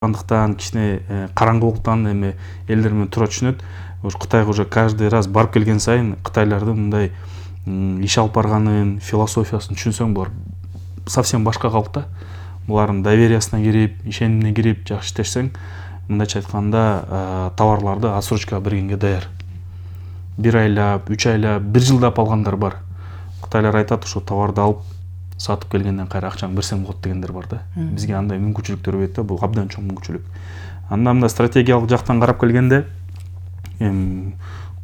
андыктан кичине караңгылыктан эми элдер менен туура түшүнөт. Кытайга уже каждый раз барып келген сайын кытайлардын мындай иш алып барганын, философиясын түшүнсөң, булар совсем башка калп да. Булардын довериясына кирип, ишенимине кирип, жакшы иштешсең, мындайча айтканда, товарларды отсрочкага бергенге даяр. 1 айлап, 3 айлап, 1 жылдап алгандар бар. Кытайлар айтат, ошо товарды алып сатып келгенден кайра акчаны берсең болот дегендер бар да. Бизге андай мүмкүнчүлүктөр бербейт да, бул абдан чоң мүмкүнчүлүк. Анда стратегиялык жактан карап келгенде,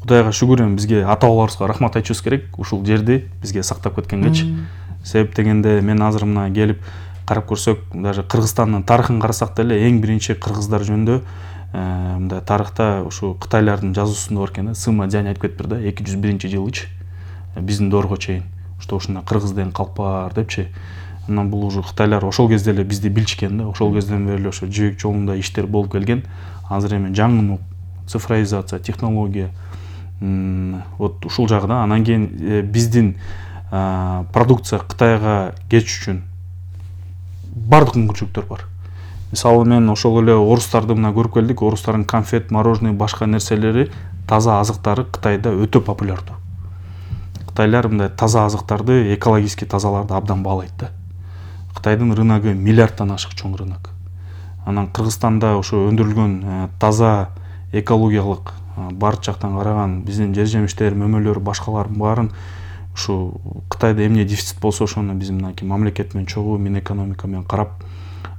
Кудайга шүгүр, бизге ата бабаларыбызга рахмат айтышыбыз керек, ушул жерди бизге сактап кеткенгечи. Себеп дегенде, мен азыр мына келип карап көрсөк, даже Кыргызстандын тарыхын карасак деле, эң биринчи кыргыздар жөнүндө мындай тарыхта ушу кытайлардын жазуусунда бар экен да, Сыма Дзянь айтып кетиптир да, 201-жылычы биздин доорго чейин. Что ушундай кыргыз деген калп бар депчи. Анан бул уже кытайлар ошол кезде эле бизди билишкен да, ошол кезден бери эле ошо жибек жолунда иштер болуп келген. Азыр эми жаңы цифровизация, технология, вот ушул жагы да. Анан кийин биздин продукция Кытайга кетиш үчүн бардык мүмкүнчүлүктөр бар. Мисалы мен ошол эле орустарды мына көрүп келдик, орустардын конфет, мороженое, башка нерселери, таза азыктары Кытайда өтө популярдуу. Кытайлар мындай таза азыктарды, экологически тазаларды абдан баалайт да. Кытайдын рыногу миллиарддан ашык чоң рынок. Анан Кыргызстанда ошо өндүрүлгөн таза экологиялык бар жактан караган биздин жер жемиштер, мөмөлөр, башкалардын баарын ушу Кытайда эмне дефицит болсо, ошону биз мынакей мамлекет менен чогуу Минэкономика менен карап,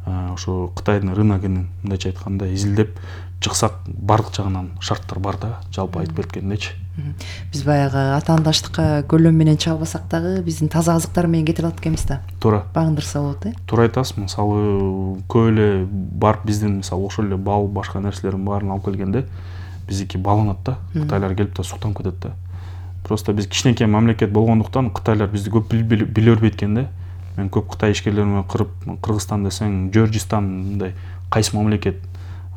ошо Кытайдын рыногун мындайча айтканда изилдеп чыксак, бардык жагынан шарттар бар да, жалпы айтып берткендечи. Биз баягы атаандаштыкка көлөм менен чалбасак дагы биздин таза азыктар менен кетип алат экенбиз да. Туура. Багындырса болот, Туура айтасыз. Мисалы көп эле барып биздин мисалы ошол эле бал, башка нерселердин баарын алып келгенде, биздики бааланат да. Кытайлар келип да суктанып кетет да. Просто биз кичинекей мамлекет болгондуктан Кытайлар бизди көп биле бербейт экен да. Мен көп Кытай ишкерлер менен Кыргызстан десең, Жоржистан мындай кайсы мамлекет?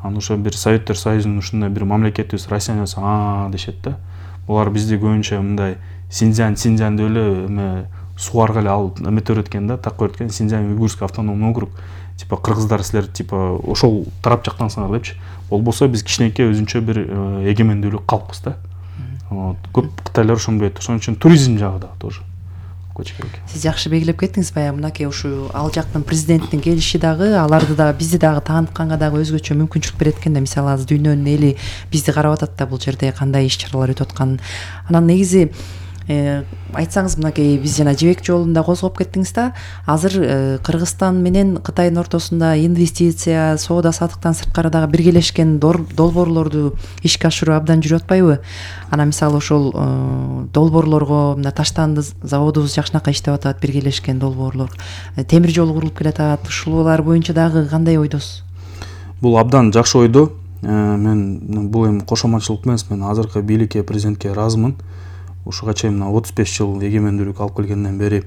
Анан ошо бир Советтер Союзунун ушундай бир мамлекетибиз Россияны десең, дешет да. Булар бизди көбүнчө мындай Синьцзянь деп эле эме сугарга эле алып эметип берет да, так көрөт экен. Синьцзянь уйгурский автономный округ. Типа кыргыздар силер типа ошол тарап жактансыңар депчи. Болбосо биз кичинекей өзүнчө бир эгемендүүлүк калкпыз да. Вот. Көп кытайлар ошону билет. Ошон үчүн туризм жагы да тоже. Сиз жакшы белгилеп кеттиңиз. Баягы мынакей ушу ал жактын президенттин келиши дагы аларды дагы бизди дагы таанытканга дагы өзгөчө мүмкүнчүлүк берет экен да. Мисалы азыр дүйнөнүн эли бизди карап атат да, бул жерде кандай иш-чаралар өтүп атканын. Анан негизи айтсаңыз, мынакей биз жана жибек жолунда козгоп кеттиңиз да. Азыр Кыргызстан менен Кытайдын ортосунда инвестиция, соода саттыктан сырткары дагы биргелешкен долбоорлорду ишке ашыруу абдан жүрүп атпайбы? Анан мисалы ошол долбоорлорго мына таштанды заводубуз жакшынакай иштеп атат, биргелешкен долбоорлор. Темир жол курулуп келатат. Ушулар боюнча дагы кандай ойдосуз? Бул абдан жакшы ойдо. Мен бул эми кошоматчылык эмес, мен азыркы бийликке, президентке ыраазымын. Ушуга чейин 35 жыл эгемендүүлүк алып келгенден бери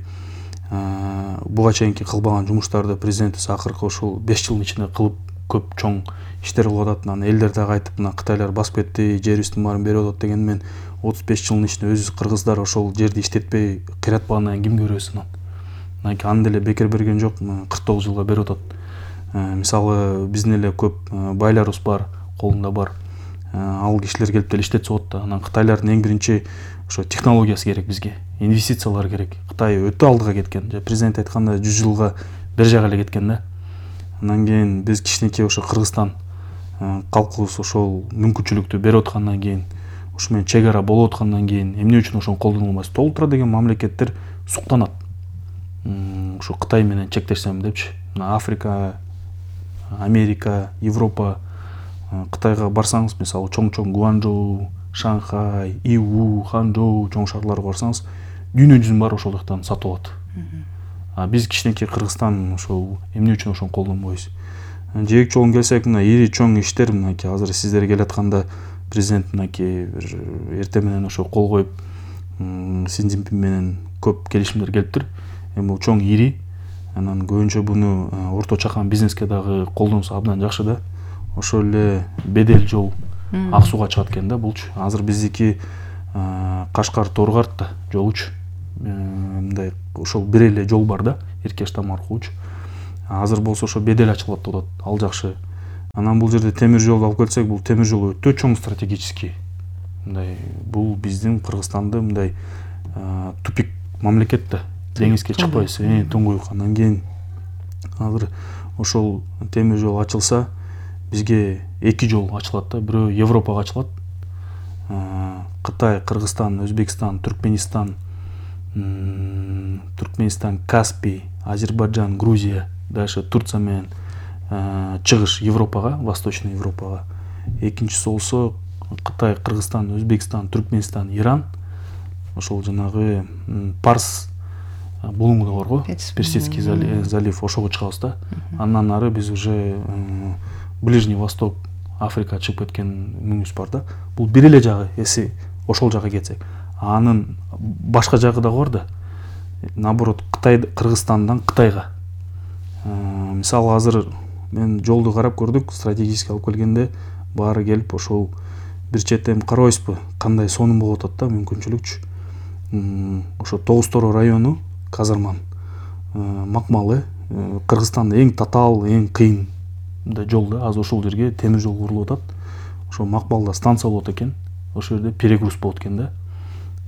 буга чейинки кылбаган жумуштарды президентибиз акыркы ушул 5 жылдын ичинде кылып көп чоң иштер кылып атат. Анан элдер дагы айтып, мына Кытайлар басып кетти, жерибиздин баарын берип атат деген. Мен 35 жылдын ичинде өзүбүз кыргыздар ошол жерди иштетпей кыйратпагандан кийин кимге беребиз анан? Аны деле бекер берген жок, 49 жылга берип атат. Мисалы биздин эле көп байларыбыз бар, колунда бар. Ал кишилер келип деле иштетсе болот да. Анан Кытайлардын эң биринчи ошо технологиясы керек бизге, инвестициялар керек. Кытай өтө алдыга кеткен. Президент айтканда 100 жылга бер жака эле кеткен да. Андан кийин биз кичинекей ошо Кыргызстан калкыбыз ошол мүмкүнчүлүктү берип аткандан кийин, ушу менен чек ара болуп аткандан кийин эмне үчүн ошону колдоно албайбыз? Толтура деген мамлекеттер суктанат. Ушу Кытай менен чектешсем депчи. Африка, Америка, Европа, Кытайга барсаңыз, мисалы чоң-чоң Гуанчжоу, Шанхай, Иу, Ханчжоу чоң шаарларга барсаңыз, дүйнө жүзүнүн баары ошол жактан сатып алат. Биз кичинекей Кыргызстан ошол эмне үчүн ошону колдонбойбуз? Жээк жолун келсек, мына ири чоң иштер, мынакей азыр сиздер келатканда президент мынакей эртең менен ошо кол коюп, Си Цзиньпин менен көп келишимдер келиптир. Эми бул чоң ири. Анан көбүнчө буну орто чакан бизнеске дагы колдонсо абдан жакшы да. Ошол эле Бедел жол Ак сууга чыгат экен да булчу. Азыр биздики Кашкар Торгарт жолучу. Мындай ошол бир эле жол бар да, Эркештам аркылуучу. Азыр болсо ошо Бедел ачылат деп атат. Ал жакшы Анан бул жерде темир жолду алып келсек, бул темир жол өтө чоң стратегический. Мындай бул биздин Кыргызстанды мындай тупик мамлекет да. Деңизге чыкпайсыз, туңгуюк. Анан кийин азыр ошол темир жол ачылса, бизге 2 жол ачылат да. Бирөө Европага ачылат. Кытай, Кыргызстан, Өзбекстан, Түркменистан, Каспий, Азербайджан, Грузия, дальше Турция менен чыгыш Европага, Восточный Европага. Экинчиси болсо Кытай, Кыргызстан, Өзбекстан, Түркменистан, Иран. Ошол жанагы Парс булуңу барго, Персидский залив, ошого чыгабыз да. Андан ары биз уже Ближний Восток, Африка чыгып кеткен мүнүбүз бар да. Бул бир эле жагы, эси ошол жакка кетсек. Анын башка жагы да бар да. Наоборот, Кытай, Кыргызстандан Кытайга. Мисалы азыр мен жолду карап көрдүк, стратегически алып келгенде баары келип ошол бир четтен карабайсызбы, кандай сонун болуп атат да, мүмкүнчүлүкчү. Ошо Тогуз Торо району, Казарман, Макмалы, Кыргызстанда эң татаал, эң кыйын жол да. Азыр ошол жерге темир жол курулуп атат. Ошо Макмалда станция болот экен. Ошол жерде перегруз болот экен да.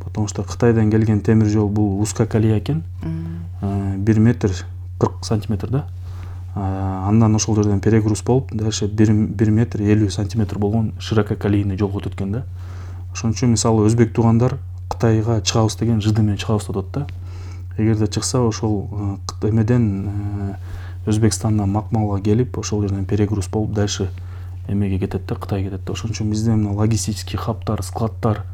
Потому что Кытайдан келген темир жол бул узкая колея экен. 1 метр 40 сантиметр да. Андан ошол жерден перегруз болуп, дальше 1 метр 50 сантиметр болгон ширококолейный жол өтөт экен да. Ошон үчүн мисалы өзбек туугандар Кытайга чыгабыз деген жыды менен чыгабыз деп атат да. Эгерде чыкса, ошол эмеден Өзбекстандан Макмалга келип, ошол жерден перегруз болуп, дальше эмеге кетет да, Кытайга кетет да. Ошон үчүн бизде мына логистический хабтар, складтар,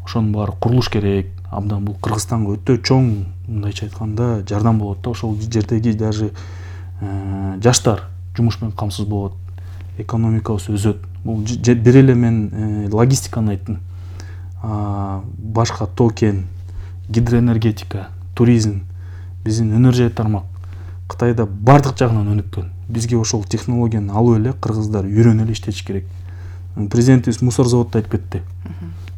ошонун баары курулуш керек. Абдан бул Кыргызстанга өтө чоң, мындайча айтканда, жардам болот да. Ошол жердеги даже жаштар жумуш менен камсыз болот, экономикабыз өсөт. Бул бир эле мен логистиканы айттым. Башка токен, гидроэнергетика, туризм, биздин өнөр жай тармак Кытайда бардык жагынан өнүккөн. Бизге ошол технологияны алып эле кыргыздар үйрөнүп эле иштетиш керек. Президентибиз мусор заводду айтып кетти.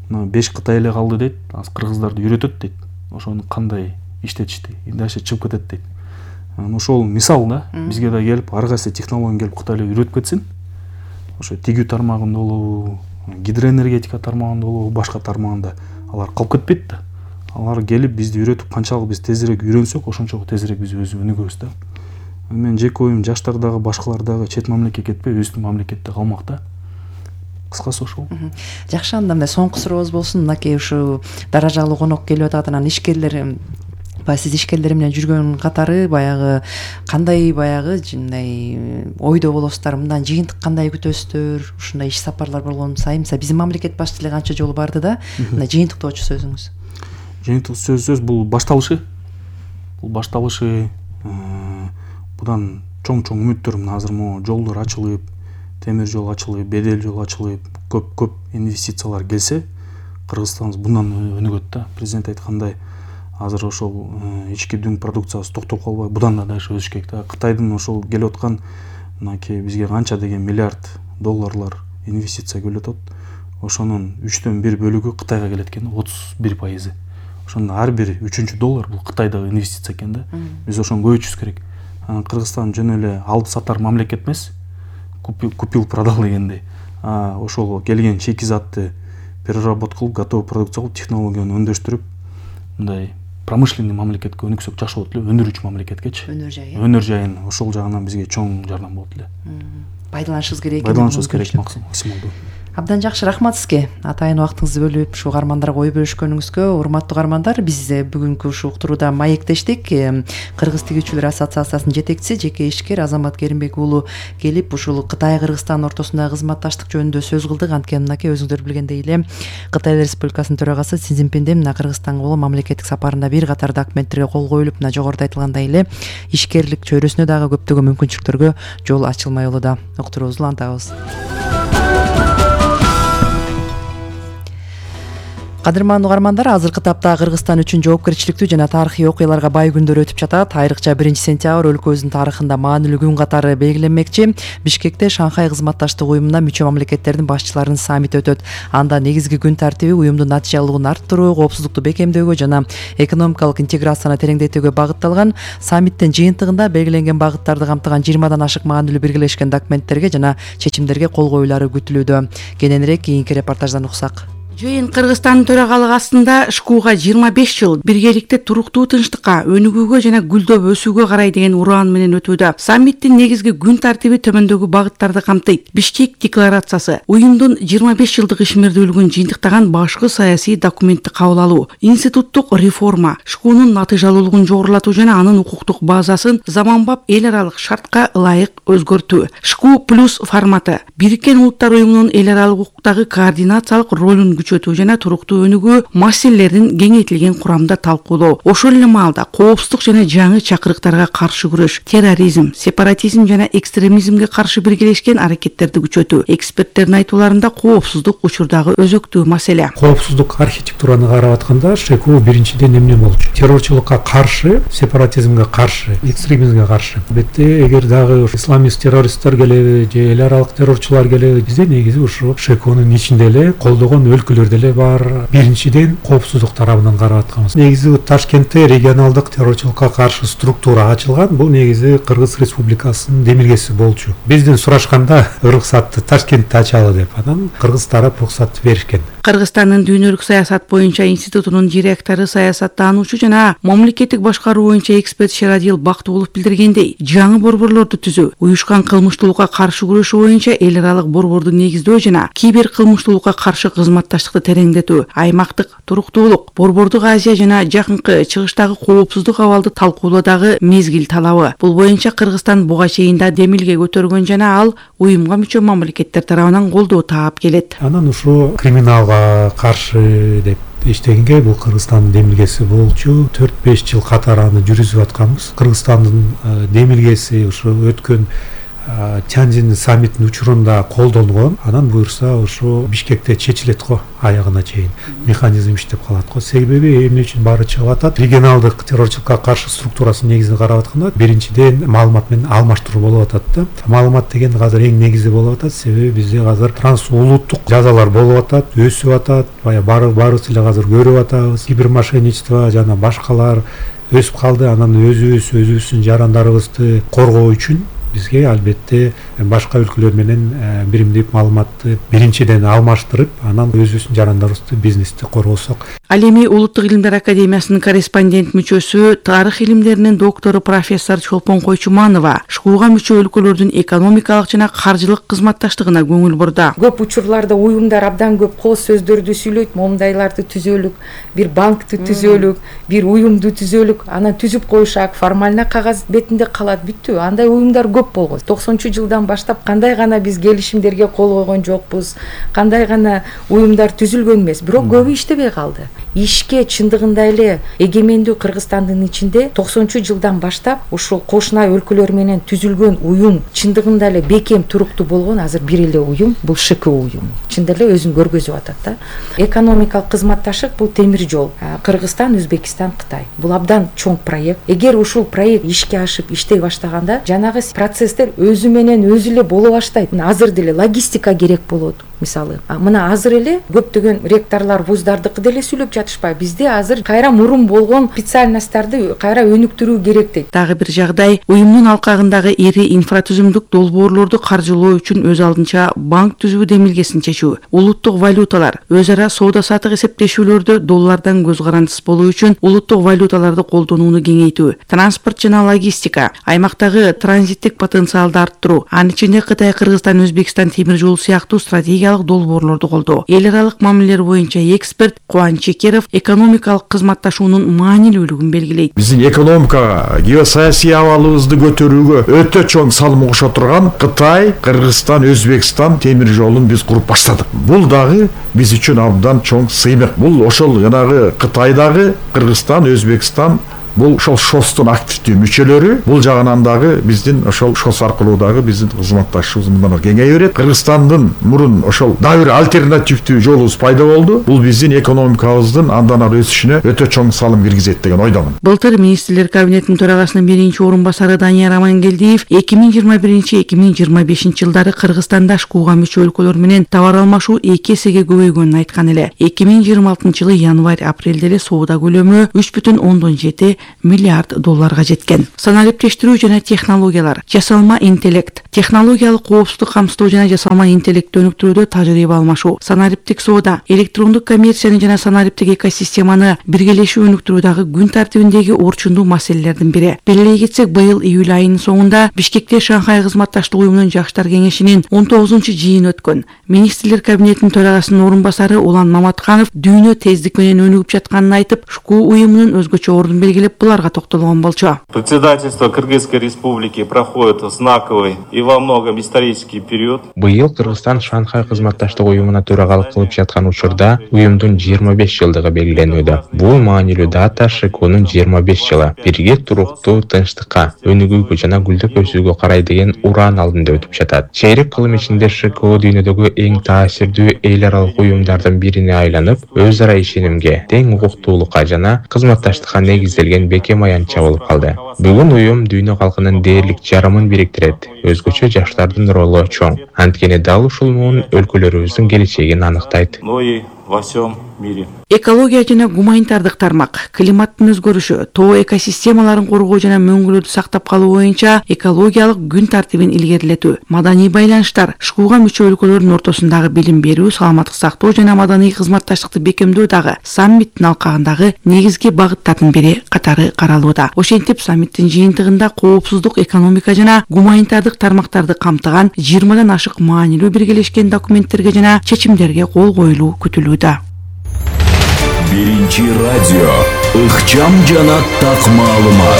5 Кытай эле калды дейт, аз кыргыздарды үйрөтөт дейт. Ошону кандай иштетишти, дальше чыгып кетет дейт. Ошол мисал да, бизге да келип, ар кайсы технология келип Кытай эле үйрөтүп кетсин. Ошо тигүү тармагында болобу, гидроэнергетика тармагында болобу, башка тармагында алар калып кетпейт да. Алар келип бизди үйрөтүп, канчалык биз тезирээк үйрөнсөк, ошончо тезирээк биз өзү өнүгөбүз да. Мен жеке оюм жаштар дагы, башкалар дагы чет мамлекетке кетпей, өзүбүздүн мамлекетте калмак да. Кыскасы ошол. Жакшы, анда мындай соңку сурообуз болсун. Мынакей ушу даражалуу конок келип атат, анан ишкерлер, сиз ишкерлер менен жүргөн катары баягы кандай мындай ойдо болосуздар, мындан жыйынтык кандай күтөсүздөр, ушундай иш сапарлар болгон сайын биздин мамлекет башчысы деле канча жолу барды да, мындай жыйынтыктоочу сөзүңүз. Жыйынтык сөз бул башталышы. Будан чоң үмүттөр, мына азыр жолдор ачылып, темир жол ачылып, бедел жол ачылып, көп инвестициялар келсе, Кыргызстаныбыз bundan өнүгөт да. Президент айткандай, азыр ошол ички дүң продукциясы токтоп калбай, будан да дальше өсүш керек да. Кытайдын ошол келип аткан мынакей бизге канча деген миллиард долларлар инвестиция келип атат. Ошонун 3/1 бөлүгү Кытайга келет экен, 31%. Ошондо ар бир 3-чү доллар бул Кытайдагы инвестиция экен да. Биз ошону көбөйтүшүбүз керек. Кыргызстан жөн эле алып сатар мамлекет эмес, купил продал дегендей. Ошол келген шикизатты переработка кылып, готовый продукция кылып, технологияны өндөштүрүп, мындай промышленный мамлекетке өнүксөк жакшы болот эле, өндүрүүчү мамлекеткечи. Өнөр жайын ошол жагынан бизге чоң жардам болот эле. Пайдаланышыбыз керек. Пайдаланышыбыз керек максималдуу. Абдан жакшы, рахмат сизге. Атайын убактыңызды бөлүп ушу угармандарга ой бөлүшкөнүңүзгө. Урматтуу угармандар, биз бүгүнкү ушу уктурууда маектештик. Кыргыз тигүүчүлөр ассоциациясынын жетекчиси, жеке ишкер Азамат Керимбек уулу келип, ушул Кытай Кыргызстан ортосундагы кызматташтык жөнүндө сөз кылдык. Анткени мынакей өзүңүздөр билгендей эле Кытай Республикасынын төрагасы Си Цзиньпиндин мына Кыргызстанга болгон мамлекеттик сапарында бир катар документтерге кол коюлуп, мына жогоруда айтылгандай эле ишкерлик чөйрөсүнө дагы көптөгөн мүмкүнчүлүктөргө жол ачылмай болууда. Уктуруубузду улантабыз. Кадырман угармандар, азыркы тапта Кыргызстан үчүн жоопкерчиликтүү жана тарыхый окуяларга бай күндөр өтүп жатат. Айрыкча 1-сентябрь өлкөбүздүн тарыхында маанилүү күн катары белгиленмекчи. Бишкекте Шанхай кызматташтык уюмуна мүчө мамлекеттердин башчыларынын саммити өтөт. Анда негизги күн тартиби уюмдун натыйжалуулугун арттыруу, коопсуздукту бекемдөөгө жана экономикалык интеграцияны тереңдетүүгө багытталган. Саммиттин жыйынтыгында белгиленген багыттарды камтыган 20дан ашык маанилүү биргелешкен документтерге жана чечимдерге кол коюлары күтүлүүдө. Кененирээк кийинки репортаждан уксак. Жыйын Кыргызстандын төрагалыгы астында ШКУга 25 жыл биргеликте туруктуу тынчтыкка, өнүгүүгө жана гүлдөп өсүүгө карай деген ураан менен өтүүдө. Саммиттин негизги күн тартиби төмөндөгү багыттарды камтыйт. Бишкек декларациясы, уюмдун 25 жылдык ишмердүүлүгүн жыйынтыктаган башкы саясий документти кабыл алуу, институттук реформа, ШКУнун натыйжалуулугун жогорулатуу жана анын укуктук базасын заманбап эл аралык шартка ылайык өзгөртүү. ШКУ плюс форматы, Бириккен Улуттар уюмунун эл аралык укуктагы координациялык ролун күчөтүү жана туруктуу өнүгүү маселелерин кеңейтилген курамда талкуулоо. Ошол эле маалда коопсуздук жана жаңы чакырыктарга каршы күрөш, терроризм, сепаратизм жана экстремизмге каршы биргелешкен аракеттерди күчөтүү. Эксперттердин айтууларында коопсуздук учурдагы өзөктүү маселе. Коопсуздук архитектураны карап атканда ШКУ биринчиден эмне болчу? Террорчулукка каршы, сепаратизмге каршы, экстремизмге каршы. Албетте, эгер дагы исламист террористтер келеби же эл аралык террорчулар келеби, бизде негизи ушу ШКУнун ичинде эле колдогон өлкөлөр деле бар. Биринчиден коопсуздук тарабынан карап атканбыз. Негизи Ташкентте регионалдык террорчулукка каршы структура ачылган. Бул негизи Кыргыз Республикасынын демилгеси болчу. Бизден сурашканда уруксатты Ташкентте ачалы деп, анан Кыргыз тарап уруксатты беришкен. Кыргызстандын дүйнөлүк саясат боюнча институтунун директору, саясаттануучу жана мамлекеттик башкаруу боюнча эксперт Шерадил Бактуулов билдиргендей, жаңы борборлорду түзүү, уюшкан кылмыштуулукка каршы күрөшүү боюнча эл аралык борборду негиздөө жана кибер кылмыштуулукка каршы кызматташтыкты тереңдетүү, аймактык туруктуулук, борбордук Азия жана жакынкы чыгыштагы коопсуздук абалды талкуулоодагы мезгил талабы. Бул боюнча Кыргызстан буга чейин да демилге көтөргөн жана ал уюмга мүчө мамлекеттер тарабынан колдоо таап келет. Анан ушу криминалга каршы деп иштегенге бул Кыргызстандын демилгеси болчу. 4-5 жыл катары аны жүргүзүп атканбыз. Кыргызстандын демилгеси ушу өткөн Тяньцзин саммитинин учурунда колдонгон. Анан буюрса ушу Бишкекте чечилет го, аягына чейин механизм иштеп калат го. Себеби эмне үчүн баары чыгып атат? Регионалдык террорчулукка каршы структурасын негизин карап атканда, биринчиден маалымат менен алмаштыруу болуп атат да. Маалымат деген азыр эң негизи болуп атат. Себеби бизде азыр трансулуттук жазалар болуп атат, өсүп атат. Баарыбыз эле азыр көрүп атабыз. Кибермошенничество жана башкалар өсүп калды. Анан өзүбүздүн жарандарыбызды коргоо үчүн бизге албетте башка өлкөлөр менен биримдик маалыматты биринчиден алмаштырып, анан өзүбүздүн жарандарыбызды, бизнести коргосок. Ал эми Улуттук илимдер академиясынын корреспондент мүчөсү, тарых илимдеринин доктору профессор Чолпон Койчуманова ШКУга мүчө өлкөлөрдүн экономикалык жана каржылык кызматташтыгына көңүл бурду. Көп учурларда уюмдар абдан көп кооз сөздөрдү сүйлөйт, момундайларды түзөлүк, бир банкты түзөлүк, бир уюмду түзөлүк, анан түзүп коюшак, формально кагаз бетинде калат, бүттү. Андай уюмдар көп болгон. 90-жылдан баштап кандай гана биз келишимдерге кол койгон жокпуз, кандай гана уюмдар түзүлгөн эмес, бирок көбү иштебей калды. Ишке чындыгында эле эгемендүү Кыргызстандын ичинде 90-жылдан баштап ушул кошуна өлкөлөр менен түзүлгөн уюм чындыгында эле бекем туруктуу болгон азыр бир эле уюм, бул ШКУ уюму. Чында эле өзүн көргөзүп атат да. Экономикалык кызматташтык бул темир жол. Кыргызстан, Өзбекстан, Кытай. Бул абдан чоң проект. Эгер ушул проект ишке ашып иштей баштаганда, жанагы процесстер өзү менен өзү эле боло баштайт. Азыр деле логистика керек болот. Мисалы, мына азыр эле көптөгөн ректорлор вуздардыкы деле сүйлөп жатышпайбы. Бизде азыр кайра мурун болгон специальностьтарды кайра өнүктүрүү керек дейт. Дагы бир жагдай, уюмдун алкагындагы ири инфратүзүмдүк долбоорлорду каржылоо үчүн өз алдынча банк түзүү демилгесин чечүү, улуттук валюталар, өз ара соода-саттык эсептешүүлөрдө доллардан көз карандысыз болуу үчүн улуттук валюталарды колдонууну кеңейтүү, транспорт жана логистика, аймактагы транзиттик потенциалды арттыруу, анын ичинде Кытай, Кыргызстан, Өзбекстан темир жолу сыяктуу стратегиялык долбоорлорду колдоо. Эл аралык мамилелер боюнча эксперт Кубан Чекеров экономикалык кызматташуунун маанилүүлүгүн белгилейт. Биздин экономикага, геосаясий абалыбызды көтөрүүгө өтө чоң салым кошо турган Кытай, Кыргызстан, Өзбекстан темир жолун биз куруп баштадык. Бул дагы биз үчүн абдан чоң сыймык. Бул ошол жанагы Кытайдагы Кыргызстан, Өзбекстан бул ошол ШОСтун активдүү мүчөлөрү, бул жагынан дагы биздин ошол ШОС аркылуу дагы биздин кызматташыбыз мындан кеңейе берет. Кыргызстандын мурун ошол дагы бир альтернативдүү жолубуз пайда болду. Бул биздин экономикабыздын андан ары өсүшүнө өтө чоң салым киргизет деген ойдомун. Былтыр министрлер кабинетинин төрагасынын биринчи орун басары Данияр Амангелдиев 2021-2025 жылдары Кыргызстанда ШКУга мүчө өлкөлөр менен товар алмашуу 2 эсеге көбөйгөнүн айткан эле. 2026 жылы январь-апрелде эле соода көлөмү 3,7 миллиард долларга жеткен. Санариптештирүү жана технологиялар, жасалма интеллект, технологиялык коопсуздук камсыздоо жана жасалма интеллектти өнүктүрүүдө тажрыйба алмашуу, санариптик соода, электрондук коммерцияны жана санариптик экосистеманы биргелешүү өнүктүрүүдагы күн тартибиндеги орчундуу маселелердин бири. Белгилей кетсек, быйыл июль айынын соңунда Бишкекте Шанхай кызматташтык уюмунун жаштар кеңешинин 19-жыйыны өткөн. Министрлер кабинетинин төрагасынын орун басары Улан Маматканов дүйнө тездик менен өнүгүп жатканын айтып, ШКУ уюмунун өзгөчө ордун белгилеп, буларга токтолгон болчу. Председательство Кыргызской Республики проходит знаковый и во многом исторический период. Быйыл Кыргызстан Шанхай кызматташтык уюмуна төрагалык кылып жаткан учурда уюмдун 25 жылдыгы белгиленүүдө. Бул маанилүү дата ШКУнун 25 жылы бирге туруктуу, тынчтыкка, өнүгүүгө жана гүлдөп өсүүгө карай деген ураан алдында өтүп жатат. Чейрек кылым ичинде ШКУ дүйнөдөгү эң таасирдүү эл аралык уюмдардын бирине айланып, өз ара ишенимге, тең укуктуулукка жана кызматташтыкка негизделген бекем аянтча болуп калды. Бүгүн уюм дүйнө калкынын дээрлик жарымын бириктирет. Өзгөчө жаштардын ролу чоң. Анткени дал ушул муун өлкөлөрүбүздүн келечегин аныктайт. Во всем мире. Экология жана гуманитардык тармак, климаттын өзгөрүшү, тоо экосистемаларын коргоо жана мөңгүлөрдү сактап калуу боюнча экологиялык күн тартибин илгерилетүү, маданий байланыштар, ШКУга мүчө өлкөлөрдүн ортосундагы билим берүү, саламаттык сактоо жана маданий кызматташтыкты бекемдөө дагы саммиттин алкагындагы негизги багыттардын бири катары каралууда. Ошентип, саммиттин жыйынтыгында коопсуздук, экономика жана гуманитардык тармактарды камтыган 20дан ашык маанилүү биргелешкен документтерге жана чечимдерге кол коюлуу күтүлүүдө. Биринчи радио ыкчам жана так маалымат.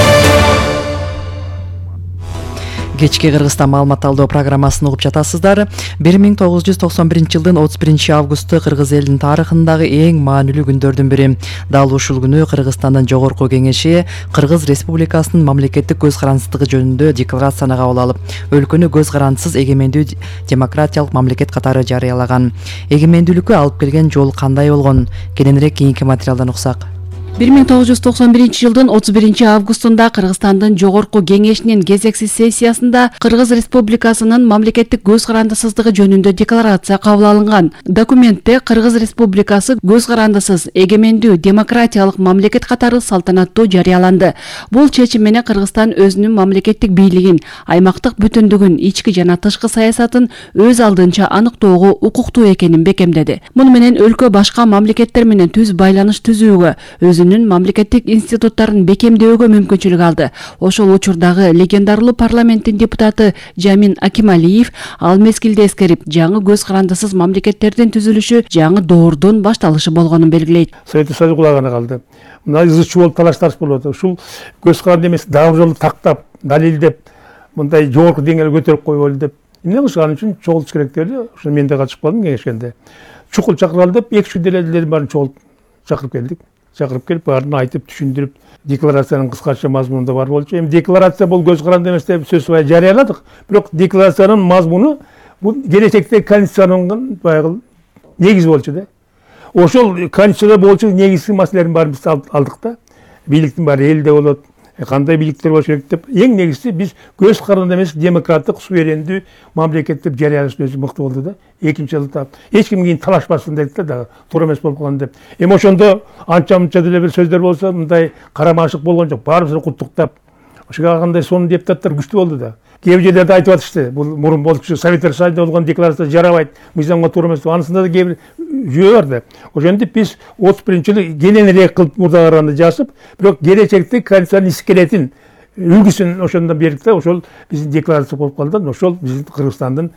Кечки Кыргызстан маалымат алдоо программасын угуп жатасыздар. 1991 жылдын 31 августу Кыргыз элинин тарыхындагы эң маанилүү күндөрдүн бири. Дал ушул күнү Кыргызстандын жогорку кеңеши Кыргыз Республикасынын мамлекеттик көз карандысыздыгы жөнүндө декларацияны кабыл алып, өлкөнү көз карандысыз эгемендүү демократиялык мамлекет катары жарыялаган. Эгемендүүлүккө алып келген жол кандай болгон? Кененирээк кийинки материалдан уксак. 1991 жылдын 31 августунда Кыргызстандын жогорку кеңешинин кезексиз сессиясында Кыргыз Республикасынын мамлекеттик көз карандысыздыгы жөнүндө декларация кабыл алынган. Документте Кыргыз Республикасы көз карандысыз, эгемендүү, демократиялык мамлекет катары салтанаттуу жарыяланды. Бул чечим менен Кыргызстан өзүнүн мамлекеттик бийлигин, аймактык бүтүндүгүн, ички жана тышкы саясатын өз алдынча аныктоого укуктуу экенин бекемдеди. Муну менен өлкө башка мамлекеттер менен түз байланыш түзүүгө, өзүнүн мамлекеттик институттарын бекемдөөгө мүмкүнчүлүк алды. Ошол учурдагы легендарлуу парламенттин депутаты Жамин Акималиев ал мезгилде эскерип, жаңы көз карандысыз мамлекеттердин түзүлүшү жаңы доордун башталышы болгонун белгилейт. Советтик Союз кулагына калды. Мына ызычуу болуп талаш-тараш болуп атат. Ушул көз каранды эмес, дагы жолу тактап, далилдеп, мындай жогорку деңгээлге көтөрүп коелу деп. Эмне кылышкан үчүн чогултуш керек деп, ошо мен да катышып калдым кеңешкенде. Чукул чакыралы деп 2-3 делелердин баарын чогултуп чакырып келдик. Чакырып келип, баарын айтып, түшүндүрүп, декларациянын кыскача мазмунунда бар болчу. Эми декларация бул көз каранды эмес деп сөз жарыяладык. Бирок декларациянын мазмуну бул келечекте конституциянын баягы негизи болчу да. Ошол конституцияда болчу негизги маселелердин баарын биз алдык да. Бийликтин баары элде болот, кандай бийликтер болуш керек деп. Эң негизгиси биз көз каранды эмес, демократик, суверендүү мамлекет деп жарыялашты өзү мыкты болду да. Экинчи жылда эч ким кийин талашпасын дедик да, туура эмес болуп калган деп. Эми ошондо анча-мынча деле бир сөздөр болсо, мындай карамашык болгон жок. Баарыбызды куттуктап, ошого кандай сонун депутаттар күчтүү болду да. Кээ бир жерлерде айтып атышты, бул мурун болчу Советтер Союзунда болгон декларация жарабайт, мыйзамга туура эмес. Анысында да кээ бир жүйө бар да. Ошентип биз 31-жылы кененирээк кылып мурдагы жасып, бирок келечекте конституциянын искелетин, үлгүсүн ошондон бердик да. Ошол биздин декларация болуп калды. Ошол биздин Кыргызстандын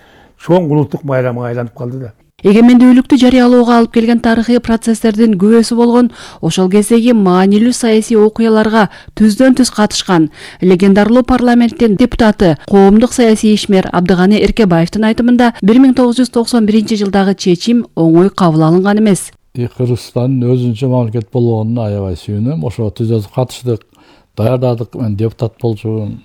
чоң улуттук байрамына айланып калды да. Эгемендүүлүктү жарыялоого алып келген тарыхый процесстердин күбөсү болгон ошол кездеги маанилүү саясий окуяларга түздөн-түз катышкан легендарлуу парламенттин депутаты, коомдук саясий ишмер Абдыганы Эркебаевдин айтымында 1991 жылдагы чечим оңой кабыл алынган эмес. Кыргызстан өзүнчө мамлекет болгонуна аябай сүйүнөм. Ошого түздөн катыштык. даярдадык. Мен депутат болчумун.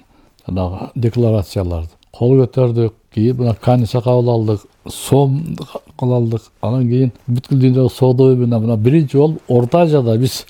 Жанагы декларацияларды кол көтөрдүк. Кийин мына комиссия кабыл алдык, сом кабыл алдык. Анан кийин бүткүл дүйнөгө соода уюмуна мына биринчи болуп Орто Азияда биз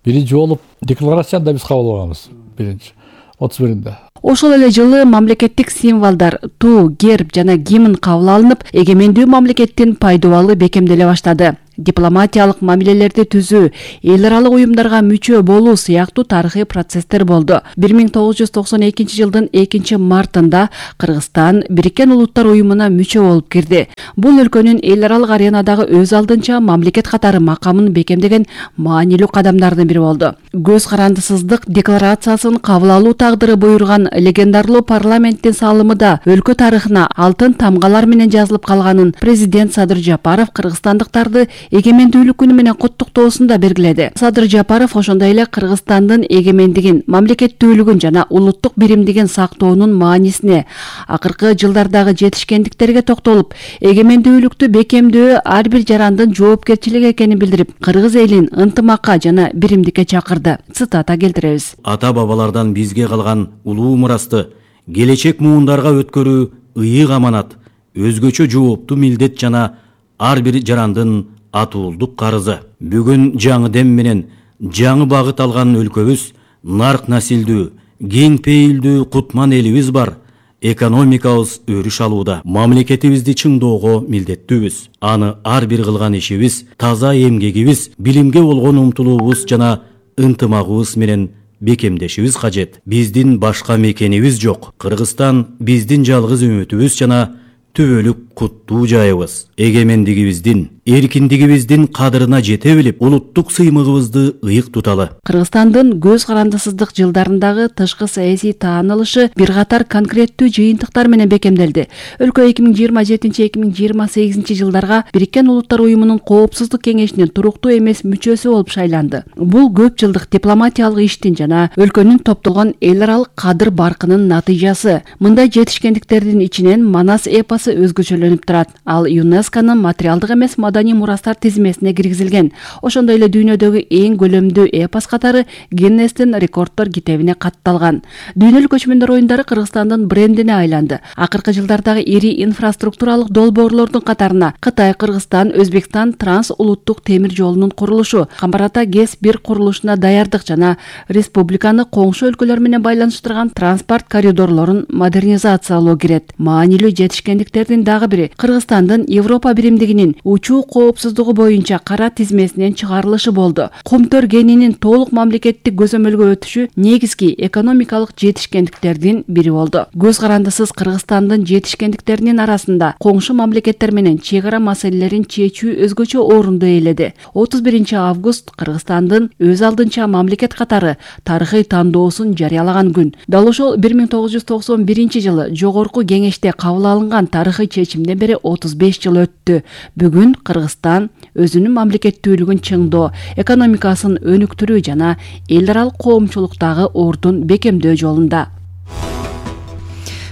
биринчи болуп декларацияны да биз кабыл алганбыз. Биринчи 31-нде. Ошол эле жылы мамлекеттик символдор, туу, герб жана гимн кабыл алынып, эгемендүү мамлекеттин пайдубалы бекемделе баштады. Дипломатиялык мамилелерди түзүү, эл аралык уюмдарга мүчө болуу сыяктуу тарыхый процесстер болду. 1992 жылдын 2-мартында Кыргызстан Бириккен Улуттар уюмуна мүчө болуп кирди. Бул өлкөнүн эл аралык аренадагы өз алдынча мамлекет катары макамын бекемдеген маанилүү кадамдардын бири болду. Көз карандысыздык декларациясын кабыл алуу тагдыры буйруган легендарлуу парламенттин салымы да өлкө тарыхына алтын тамгалар менен жазылып калганын президент Садыр Жапаров кыргызстандыктарды эгемендүүлүк күнү менен куттуктоосунда белгиледи. Садыр Жапаров ошондой эле Кыргызстандын эгемендигин, мамлекеттүүлүгүн жана улуттук биримдигин сактоонун маанисине, акыркы жылдардагы жетишкендиктерге токтолуп, эгемендүүлүктү бекемдөө ар бир жарандын жоопкерчилиги экенин билдирип, кыргыз элин ынтымакка жана биримдикке чакырды. Цитата келтиребиз. Ата бабалардан бизге калган улуу мурасты келечек муундарга өткөрүү ыйык аманат, өзгөчө жооптуу милдет жана ар бир жарандын атуулдук карызы. Бүгүн жаңы дем менен жаңы багыт алган өлкөбүз нарк насилдүү, кең пейилдүү кутман элибиз бар. Экономикабыз өрүш алууда. Мамлекетибизди чыңдоого милдеттүүбүз. Аны ар бир кылган ишибиз, таза эмгегибиз, билимге болгон умтулуубуз жана ынтымагыбыз менен бекемдешибиз кажет. Биздин башка мекенибиз жок. Кыргызстан биздин жалгыз үмүтүбүз жана түбөлүк куттуу жайыбыз. Эгемендигибиздин, эркиндигибиздин кадырына жете билип, улуттук сыймыгыбызды ыйык туталы. Кыргызстандын көз карандысыздык жылдарындагы тышкы саясий таанылышы бир катар конкреттүү жыйынтыктар менен бекемделди. Өлкө 2027-2028 жылдарга Бириккен Улуттар уюмунун Коопсуздук кеңешинин туруктуу эмес мүчөсү болуп шайланды. Бул көп жылдык дипломатиялык иштин жана өлкөнүн топтолгон эл аралык кадыр баркынын натыйжасы. Мындай жетишкендиктердин ичинен Манас эпосу өзгөчөлөнүп турат. Ал ЮНЕСКОнун материалдык эмес маданий мурастар тизмесине киргизилген. Ошондой эле дүйнөдөгү эң көлөмдүү эпос катары Гиннестин рекорддор китебине катталган. Дүйнөлүк көчмөндөр оюндары Кыргызстандын брендине айланды. Акыркы жылдардагы ири инфраструктуралык долбоорлордун катарына Кытай, Кыргызстан, Өзбекстан транс улуттук темир жолунун курулушу, Камбарата ГЭС-1 курулушуна даярдык жана республиканы коңшу өлкөлөр менен байланыштырган транспорт коридорлорун модернизациялоо кирет. Маанилүү жетишкендиктердин дагы бири Кыргызстандын Европа биримдигинин учуу коопсуздугу боюнча кара тизмесинен чыгарылышы болду. Кумтөр кенинин толук мамлекеттик көзөмөлгө өтүшү негизги экономикалык жетишкендиктердин бири болду. Көз карандысыз Кыргызстандын жетишкендиктеринин арасында коңшу мамлекеттер менен чек ара маселелерин чечүү өзгөчө орунду ээледи. 31-август Кыргызстандын өз алдынча мамлекет катары тарыхый тандоосун жарыялаган күн. Дал ошол 1991 жылы Жогорку Кеңеште кабыл алынган тарыхый чечимден бери 35 жыл өттү. Бүгүн Кыргызстан өзүнүн мамлекеттүүлүгүн чыңдоо, экономикасын өнүктүрүү жана эл аралык коомчулуктагы ордун бекемдөө жолунда.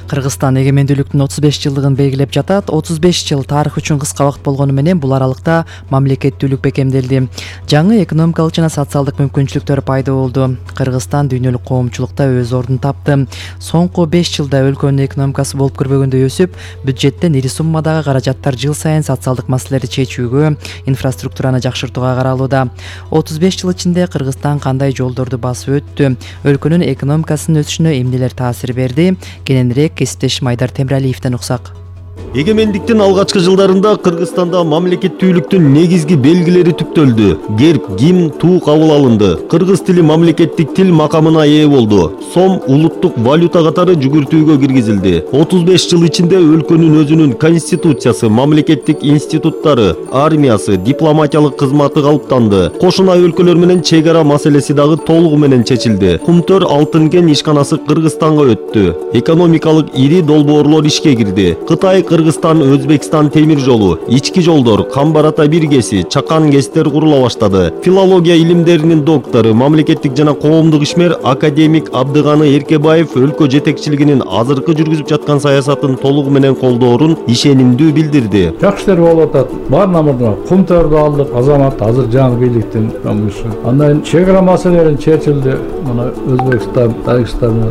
Кыргызстан эгемендүүлүктүн 35 жылдыгын белгилеп жатат. 35 жыл тарых үчүн кыска убакыт болгону менен бул аралыкта мамлекеттүүлүк бекемделди. Жаңы экономикалык жана социалдык мүмкүнчүлүктөр пайда болду. Кыргызстан дүйнөлүк коомчулукта өз ордун тапты. Соңку 5 жылда өлкөнүн экономикасы болуп көрбөгөндөй өсүп, бюджеттен ири суммадагы каражаттар жыл сайын социалдык маселелерди чечүүгө, инфраструктураны жакшыртууга каралууда. 35 жыл ичинде Кыргызстан кандай жолдорду басып өттү? Өлкөнүн экономикасынын өсүшүнө эмнелер таасир берди? Кененирээк кесиптешим Айдар Темиралиевден уксак. Эгемендиктин алгачкы жылдарында Кыргызстанда мамлекеттүүлүктүн негизги белгилери түптөлдү. Герб, гимн, туу кабыл алынды. Кыргыз тили мамлекеттик тил макамына ээ болду. Сом улуттук валюта катары жүгүртүүгө киргизилди. 35 жыл ичинде өлкөнүн өзүнүн конституциясы, мамлекеттик институттары, армиясы, дипломатиялык кызматы калыптанды. Кошуна өлкөлөр менен чек ара маселеси дагы толугу менен чечилди. Кумтөр алтын кен ишканасы Кыргызстанга өттү. Экономикалык ири долбоорлор ишке кирди. Кытай, Кыргызстан Өзбекстан темир жолу, ички жолдор, Камбар-Ата биргеси, Чакан КЭСтер курула баштады. Филология илимдеринин доктору, мамлекеттик жана коомдук ишмер академик Абдыганы Эркебаев өлкө жетекчилигинин азыркы жүргүзүп жаткан саясатын толугу менен колдоорун ишенимдүү билдирди. Жакшы ишер болуп атат. Баарына мурда Кумтөрдү алдык, азамат азыр жаңы бийликтин өңүшү. Андан чек-ара маселелерин чечилди. Мына Өзбекстан, Тажикстан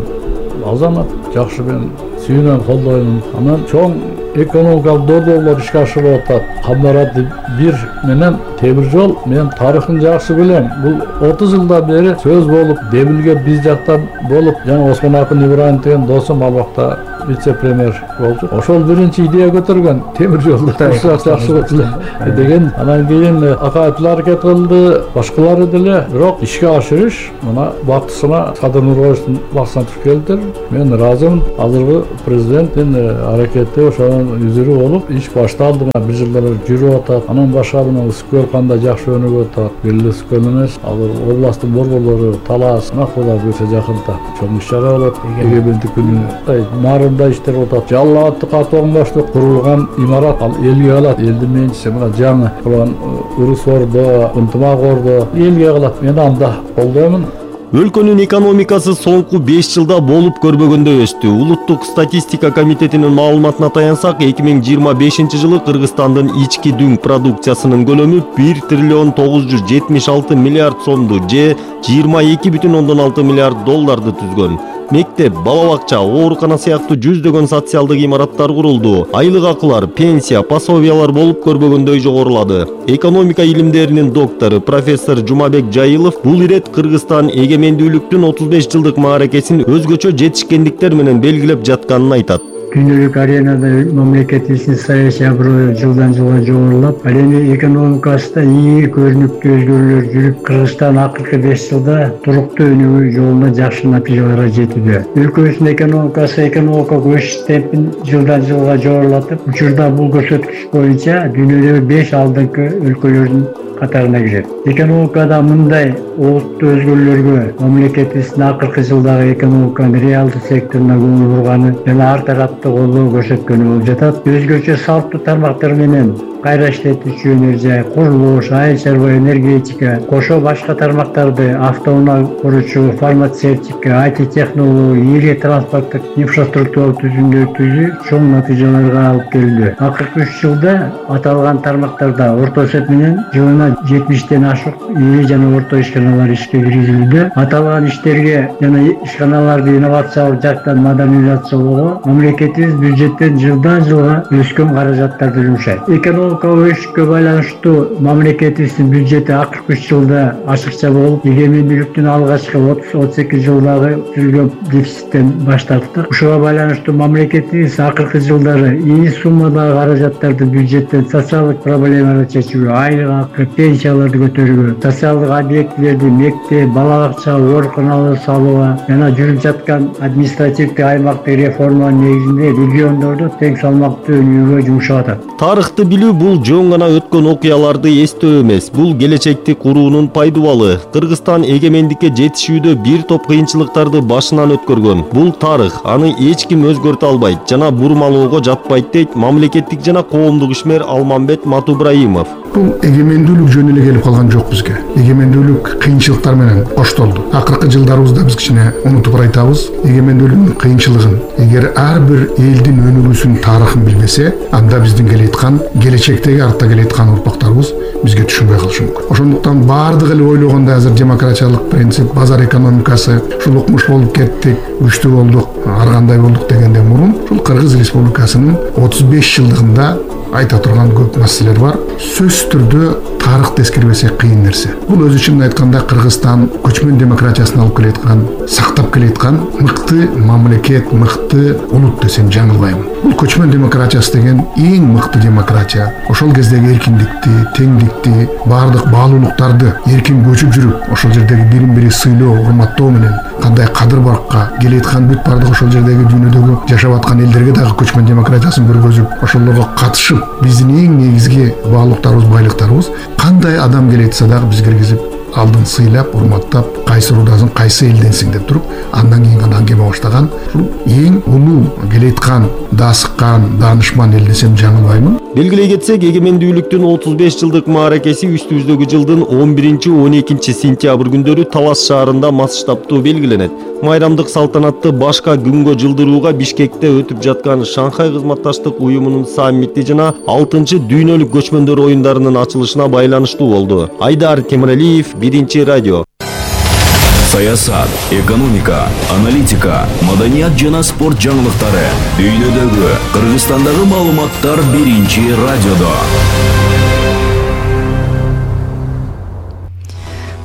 азамат жакшы мен сүйүнөм, колдойм. Анан чоң экономикалык долбоорлор ишке ашырылып атат. Камбар-Ата бир менен темир жол мен тарыхын жакшы билем. Бул 30 жылдан бери сөз болуп, Демилге биз жакта болуп, жана Осмон Акын Ибраев деген досум ал вакытта вице-премьер болду. Ошол биринчи идея көтөргөн темир жолду жакшы деген. Анан кийин Акаевдер аракет кылды, башкалары деле, бирок ишке ашырыш мына бактысына Садыр Нурбаевдин баксына туш келди. Мен ыраазымын. Азыркы президенттин аракети ошонун үзүрү болуп, иш башталды. Бир жылдар жүрүп атат. Анан башка мына Скөл кандай жакшы өнүгүп атат. Бирли Скөл эмес, азыр областтын борборлору Талас, Кудай буйрса жакында чоң иш-чара болот. Эгемендик күнү иштер атат. Жалал Абадты катууган башты курулган имарат ал элге калат. Элдин менчиси мына жаңы кылган Урус Ордо, Ынтымак Ордо элге калат. Мен анда колдоймун. Өлкөнүн экономикасы соңку 5 жылда болуп көрбөгөндөй өстү. Улуттук статистика комитетинин маалыматына таянсак, 2025 жылы Кыргызстандын ички дүң продукциясынын көлөмү 1 триллион 976 миллиард сомду же 22,6 миллиард долларды түзгөн. Мектеп, бала бакча, оорукана сыяктуу жүздөгөн социалдык имараттар курулду. Айлык акылар, пенсия, пособиялар болуп көрбөгөндөй жогорулады. Экономика илимдеринин доктору профессор Жумабек Жайылов бул ирет Кыргызстан эгемендүүлүктүн 35 жылдык мааракесин өзгөчө жетишкендиктер менен белгилеп жатканын айтат. Күнүлүк аренада мамлекетибиздин саясий аброю жылдан жылга жогорулап, ал эми экономикасында ийи көрүнүктүү өзгөрүүлөр жүрүп, Кыргызстан акыркы 5 жылда туруктуу өнүгүү жолунда жакшы натыйжаларга жетүүдө. Өлкөбүздүн экономикалык өсүш темпин жылдан жылга жогорулатып, учурда бул көрсөткүч боюнча дүйнөдөгү 5 алдыңкы өлкөлөрдүн катарына кирет. Экономикада мындай олуттуу өзгөрүүлөргө мамлекетибиздин акыркы жылдагы экономиканын реалдуу секторуна көңүл бурганы жана ар тараптуу колдоо көрсөткөнү болуп жатат. Өзгөчө салттуу тармактар менен кайра иштетүүчү энергия, курулуш, айыл чарба, энергетика, кошо башка тармактарды автоунаа куручу, фармацевтика, IT технология, ири транспорттук инфраструктура түзүмдөрдү чоң натыйжаларга алып келди. Акыркы 3 жылда аталган тармактарда орто эсеп менен жылына 70ден ашык ири жана орто ишканалар ишке киргизилүүдө. Аталган иштерге жана ишканаларды инновациялык жактан модернизациялоого мамлекетибиз бюджеттен жылдан жылга өскөн каражаттарды жумшайт. Өсүшкө байланыштуу мамлекетибиздин бюджети акыркы 3 жылда ашыкча болуп, эгемендүүлүктүн алгачкы 30-32 жылдагы түзүлгөн дефициттен баш тарттык. Ушуга байланыштуу мамлекетибиз акыркы жылдары ийи суммадагы каражаттарды бюджеттен социалдык проблемаларды чечүүгө, айлык акы, пенсияларды көтөрүүгө, социалдык объектилерди, мектеп, бала бакча, ооруканаларды салууга жана жүрүп жаткан административдик аймактык реформанын негизинде региондорду тең салмактуу өнүгүүгө жумшап атат. Тарыхты билүү бул жөн гана өткөн окуяларды эстөө эмес, бул келечекти куруунун пайдубалы. Кыргызстан эгемендикке жетишүүдө бир топ кыйынчылыктарды башынан өткөргөн. Бул тарых, аны эч ким өзгөртө албайт жана бурмалоого жатпайт дейт мамлекеттик жана коомдук ишмер Алмамбет Матубраимов. Бул эгемендүүлүк жөн эле келип калган жок бизге. Эгемендүүлүк кыйынчылыктар менен коштолду. Акыркы жылдарыбызда биз кичине унутуп айтабыз, эгемендүүлүктүн кыйынчылыгын. Эгер ар бир элдин өнүгүүсүнүн тарыхын билбесе, анда биздин келеаткан келечектеги артта келеаткан урпактарыбыз бизге түшүнбөй калышы мүмкүн. Ошондуктан баардыгы эле ойлогондой азыр демократиялык принцип, базар экономикасы, ушул укмуш болуп кеттик, күчтүү болдук, ар кандай болдук дегенден мурун, ушул Кыргыз Республикасынын 35 жылдыгында айта турган көп маселелер бар. Сөзсүз түрдө тарыхты эскербесек кыйын нерсе. Бул өзү үчүн айтканда Кыргызстан көчмөн демократиясын алып келеаткан, сактап келеаткан мыкты мамлекет, мыкты улут десем жаңылбайм. Бул көчмөн демократиясы деген эң мыкты демократия. Ошол кездеги эркиндикти, теңдикти, баардык баалуулуктарды эркин көчүп жүрүп, ошол жердеги бирин-бири сыйлоо, урматтоо менен кандай кадыр-баракка келеаткан бүт баардык ошол жердеги дүйнөдөгү жашап аткан элдерге дагы көчмөн демократиясын көргөзүп, ошолорго катышып, биздин эң негизги баалуулуктарыбыз, байлыктарыбыз кандай адам келетсе дагы биз киргизип, алдын сыйлап, урматтап, кайсы рудасың, кайсы элденсиң деп туруп, андан кийин гана аңгеме баштаган. Ушул эң улуу келеткан, даасыккан, даанышман эл десем жаңылбаймын. Белгилей кетсек, эгемендүүлүктүн 35 жылдык мааракеси үстүбүздөгү жылдын 11-12 сентябрь күндөрү Талас шаарында масштабтуу белгиленет. Майрамдык салтанатты башка күнгө жылдырууга Бишкекте өтүп жаткан Шанхай кызматташтык уюмунун саммити жана 6-чы дүйнөлүк көчмөндөр оюндарынын ачылышына байланыштуу болду. Айдар Темиралиев, Биринчи радио. Саясат, экономика, аналитика, маданият жана спорт жаңылыктары. Дүйнөдөгү, Кыргызстандагы маалыматтар Биринчи радиодо.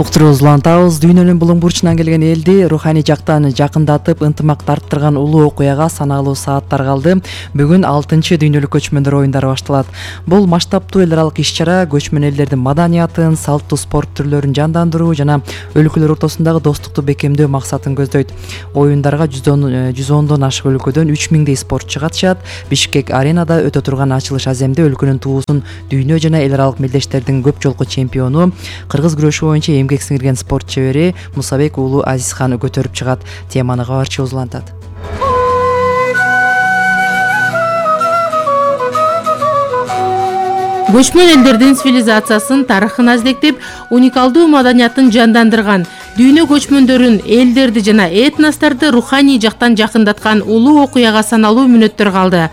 Уктуруубузду улантабыз. Дүйнөнүн булуң бурчунан келген элди руханий жактан жакындатып, ынтымакты арттырган улуу окуяга саналуу сааттар калды. Бүгүн 6-чы дүйнөлүк көчмөндөр оюндары башталат. Бул масштабтуу эл аралык иш-чара көчмөн элдердин маданиятын, салттуу спорт түрлөрүн жандандыруу жана өлкөлөр ортосундагы достукту бекемдөө максатын көздөйт. Оюндарга 110дон ашык өлкөдөн 3000дей спортчу катышат. Бишкек аренада өтө турган ачылыш аземде өлкөнүн туусун дүйнө жана эл аралык мелдештердин көп жолку чемпиону, кыргыз күрөшү боюнча эмгек сиңирген спорт чебери Мусабек уулу Азизхан көтөрүп чыгат. Теманы кабарчыбыз улантат. Көчмөн элдердин цивилизациясын, тарыхын аздектеп, уникалдуу маданиятын жандандырган, дүйнө көчмөндөрүн, элдерди жана этносторду руханий жактан жакындаткан улуу окуяга саналуу мүнөттөр калды.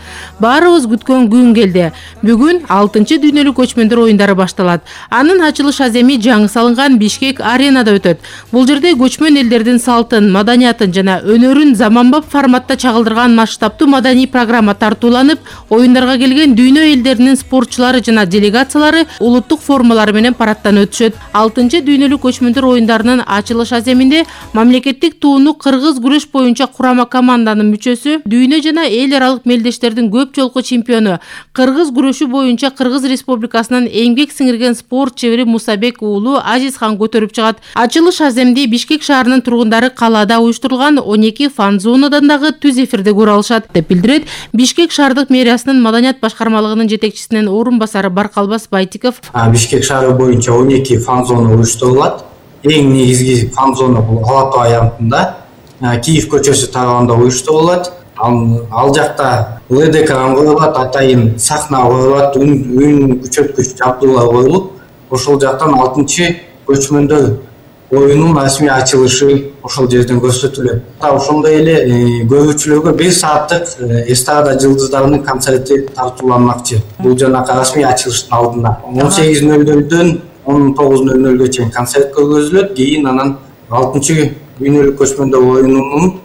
Баарыбыз күткөн күн келди. Бүгүн 6-чы дүйнөлүк көчмөндөр оюндары башталат. Анын ачылыш аземи жаңы салынган Бишкек аренада өтөт. Бул жерде көчмөн элдердин салтын, маданиятын жана өнөрүн заманбап форматта чагылдырган масштабтуу маданий программа тартууланып, оюндарга келген дүйнө элдеринин спортчулары жана делегациялары улуттук формалары менен парадтан өтүшөт. 6-чы дүйнөлүк көчмөндөр оюндарынын ачылыш аземинде мамлекеттик тууну кыргыз күрөш боюнча курама команданын мүчөсү, дүйнө жана эл аралык мелдештердин көп жолку чемпиону, кыргыз күрөшү боюнча Кыргыз Республикасынын эмгек сиңирген спорт чебери Мусабек уулу Азизхан көтөрүп чыгат. Ачылыш аземди Бишкек шаарынын тургундары калаада уюштурулган 12 фан зонадан дагы түз эфирде көрө алышат деп билдирет Бишкек шаардык мэриясынын маданият башкармалыгынын жетекчисинин орун басары Баркалбас Байтиков. Бишкек шаары боюнча 12 фан зона уюштурулат. Эң негизги фан зона бул Ала Тоо аянтында Киев көчөсү тарабында уюштурулат. Ал жакта ЛДК коюлат, атайын сахна коюлат, үн күчөткүч жабдуулар коюлуп, ошол жактан 6-чы көчмөндөр оюнун расмий ачылышы ошол жерден көрсөтүлөт. Ошондой эле көрүүчүлөргө 1 сааттык эстрада жылдыздарынын концерти тартууланмакчы. Бул жанакы расмий ачылыштын алдында 18:00дөн 19:00га чейин концерт көргөзүлөт. Кийин анан 6-чы дүйнөлүк көчмөндөр оюнунун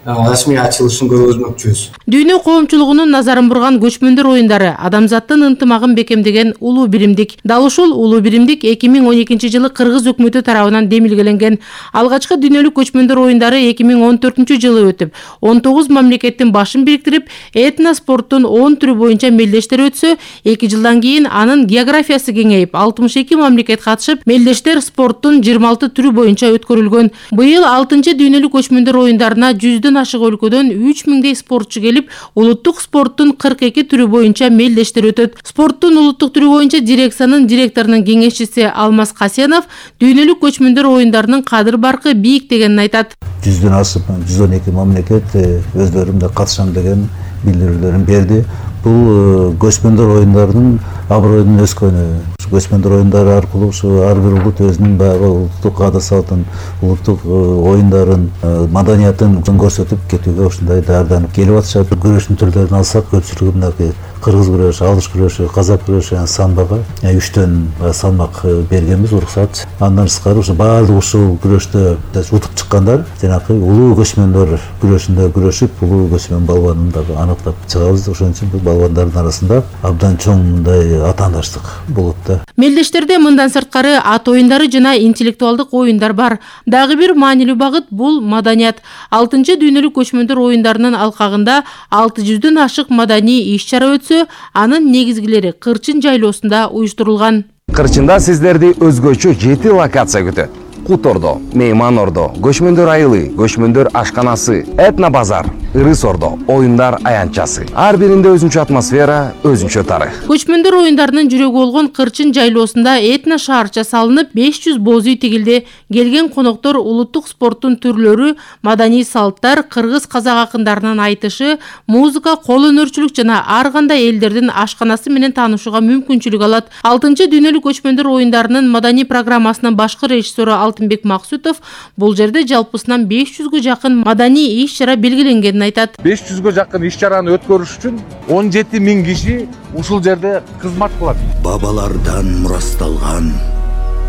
расмий ачылышын көргөзмөкчүбүз. Дүйнө коомчулугунун назарын бурган көчмөндөр оюндары адамзаттын ынтымагын бекемдеген улуу биримдик. Дал ушул улуу биримдик 2012-жылы Кыргыз өкмөтү тарабынан демилгеленген. Алгачкы дүйнөлүк көчмөндөр оюндары 2014-жылы өтүп, 19 мамлекеттин башын бириктирип, этноспорттун 10 түрү боюнча мелдештер өтсө, 2 жылдан кийин анын географиясы кеңейип, 62 мамлекет катышып, мелдештер спорттун 26 түрү боюнча өткөрүлгөн. Быйыл 6-чы дүйнөлүк көчмөндөр оюндарына 100 ашык өлкөдөн 3000дей спортчу келип, улуттук спорттун 42 түрү боюнча мелдештер өтөт. Спорттун улуттук түрү боюнча дирекциянын директорунун кеңешчиси Алмаз Касенов дүйнөлүк көчмөндөр оюндарынын кадыр баркы бийик дегенин айтат. 100дөн ашып 112 мамлекет өздөрүм да катышам деген билдирүүлөрүн берди. Бул көчмөндөр оюндарынын аброюнун өскөнү. Көчмөндөр оюндары аркылуу ушу ар бир улут өзүнүн баягы улуттук ада салтын, улуттук оюндарын, маданиятын көрсөтүп кетүүгө ушундай даярданып келип атышат. Күрөштүн түрлөрүн алсак, көпчүлүгү мынакей кыргыз күрөшү, алыш күрөшү, казак күрөшү, самбага 3төн салмак бергенбиз уруксат. Андан тышкары ушу баардык ушул күрөштө утуп чыккандар жанакы улуу көчмөндөр күрөшүндө күрөшүп, улуу көчмөн балбанын дагы аныктап чыгабыз. Ошон үчүн бул балбандардын арасында абдан чоң мындай атаандаштык болот да. Мелдештерде мындан сырткары ат оюндары жана интеллектуалдык оюндар бар. Дагы бир маанилүү багыт бул маданият. 6-чы дүйнөлүк көчмөндөр оюндарынын алкагында 600дөн ашык маданий иш-чара өтсө, анын негизгилери Кырчын жайлоосунда уюштурулган. Кырчында сиздерди өзгөчө 7 локация күтөт. Кут Ордо, Мейман Ордо, Көчмөндөр айылы, Көчмөндөр ашканасы, Этно базар, ыры сордо, оюндар аянтчасы. Ар биринде өзүнчө атмосфера, өзүнчө тарых. Көчмөндөр оюндарынын жүрөгү болгон Кырчын жайлоосунда этно шаарча салынып, 500 боз үй тигилди. Келген коноктор улуттук спорттун түрлөрү, маданий салттар, кыргыз казак акындарынын айтышы, музыка, кол өнөрчүлүк жана ар кандай элдердин ашканасы менен таанышууга мүмкүнчүлүк алат. 6-дүйнөлүк көчмөндөр оюндарынын маданий программасынын башкы режиссеру Алтынбек Максутов бул жерде жалпысынан 500гө жакын маданий иш-чара белгиленгенин айтат. 500гө жакын иш-чараны өткөрүш үчүн 17 000 киши ушул жерде кызмат кылат. Бабалардан мурасталган,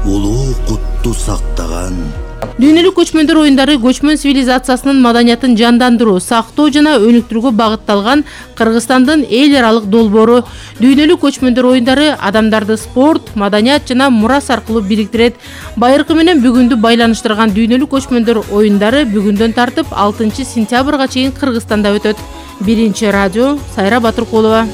улуу кутту сактаган. Дүйнөлүк көчмөндөр оюндары көчмөн цивилизациясынын маданиятын жандандыруу, сактоо жана өнүктүрүүгө багытталган Кыргызстандын эл аралык долбоору. Дүйнөлүк көчмөндөр оюндары адамдарды спорт, маданият жана мурас аркылуу бириктирет. Байыркы менен бүгүндү байланыштырган дүйнөлүк көчмөндөр оюндары бүгүндөн тартып 6 сентябрга чейин Кыргызстанда өтөт. Биринчи радио, Сайра Батыркулова.